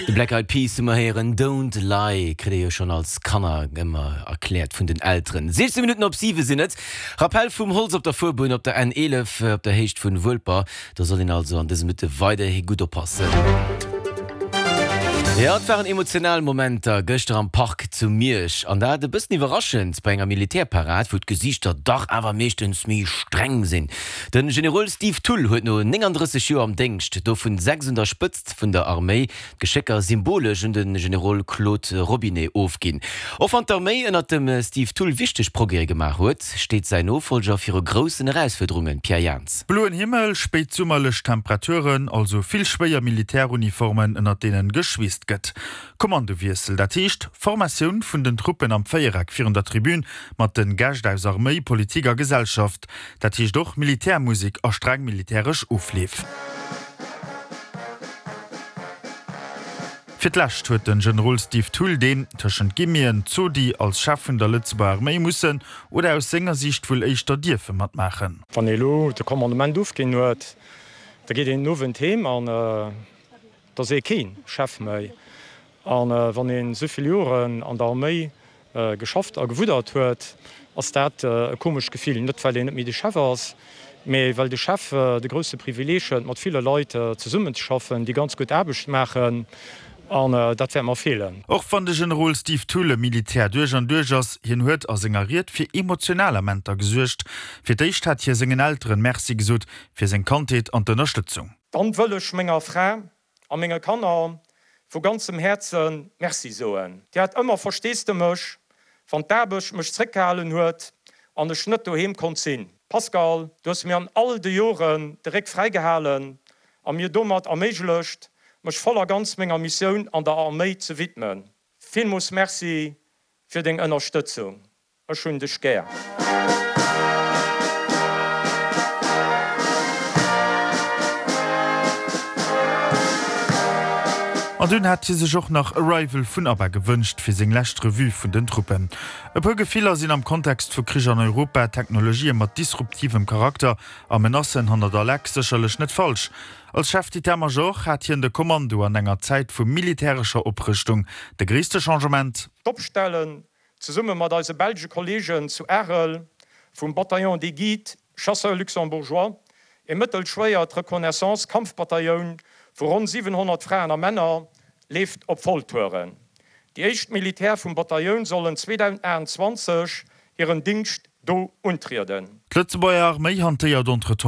De Black Eyed Peas hu mer héieren, Don't Lie kritt ee jo schonn als Kanner ëmmer erkläert vun den Elteren. 16 Minutten op 7 sinn et. Rappell vum Holz op der Fuerbunn op der N 11 op der Héicht vun Wuelper. Do soll een also an dëse Minutte weiderhi gutt oppassen. Jo, et waren emotional Momenter gëschter am Park zu Miersch. An dat e bëssen iwwerraschend bei enger Militärparad, wou d'Gesiichter dach awer meeschtens méi streng sinn. De Generol Steve Thull huet no 39 Joer am Déngscht, dovun 6 un der Spëtzt vun der Arméi, d'Geschécker symbolesch un de Generol Claude Robinet ofginn. Och wann d'Arméi ënnert dem Steve Thull wichteg Progrèse gemaach huet, steet säin Nofollger viru groussen Erausfuerderungen, Pierre Jans. Bloen Himmel, spéitsummerlech Temperaturen, also vill schwéier Militäruniformen, ënnert deenen geschweesst gëtt. Kommandowiessel, dat heescht Formatioun vun den Truppen am Véiereck virun der Tribün mat den Gäscht aus Arméi, Politik a Gesellschaft. Dat heescht och Militärmusek a streng militäresch Ofleef. Fir d'lescht huet den Generol Steve Thull, deen, tëschent Guillemeten, Zodi als Chef vun der Lëtzebuerger Arméi mussen, oder aus senger Siicht wuel éischter dierfe matmaachen. Wann ee elo de Commandement ofginn huet, da geet een den Owend heem an da ass ee kee Chef méi. A wann een esou vill Joren an der Arméi geschafft a gewuddert huet, ass dat e komescht Gefill. Net well een net méi de Chef ass, mee well de Chef de grousse Privileeg huet, mat ville Leit zesummenzeschaffen, déi ganz gutt Aarbecht maachen. An dat wäert mer feelen. Och wann de Generol Steve Thull e Militär duerch an duerch ass, hien huet a senger Ried fir emotional Amenter gesuergt. Fir d'éischt hat hie sengen Elteren Merci gesot fir seng Kandheet an d'Ënnerstëtzung. Dann wëll ech menger Fra a menge Kanner vu ganzem Häerze Merci soen. Dir hat ëmmer Versteesdemech, wann d'Aarbecht mech zréckgehalen huet an ech net doheem konnt sinn. Pascal, du hues mir an all de Joren de Réck fräigehalen a mir domat erméiglecht, mech voll a ganz menger Missioun an der Arméi ze widmen. Villmoos Merci fir deng Ënnerstëtzung. Ech hunn dech gär. An dunn hat hie sech och nach Arrival vun ABBA gewënscht fir seng lescht Revue vun den Truppen. E puer Gefiller sinn am Kontext vu Krich an Europa, Technologië mat disruptivem Charakter a Menacen hanner der Leck sécherlech net falsch. Als Chef d'état-major hat hien de Kommando an enger Zäit vu militärescher Oprëschtung. De gréisste Changement? D'Opstelle Zesumme mat eise belsche Kollegen zu Arel vum Bataillon des Guides Chasseurs Luxembourgeois, e mëttelschwéiert Reconnaissance-Kampfbatailloun vu ronn 700 Fraen a Männer, leeft op Volltouren. Déi éischt Militär vum Batailloun sollen 2028 hiren Dingscht do untrieden. D'Lëtzebuerger Arméi hantéiert entretemps.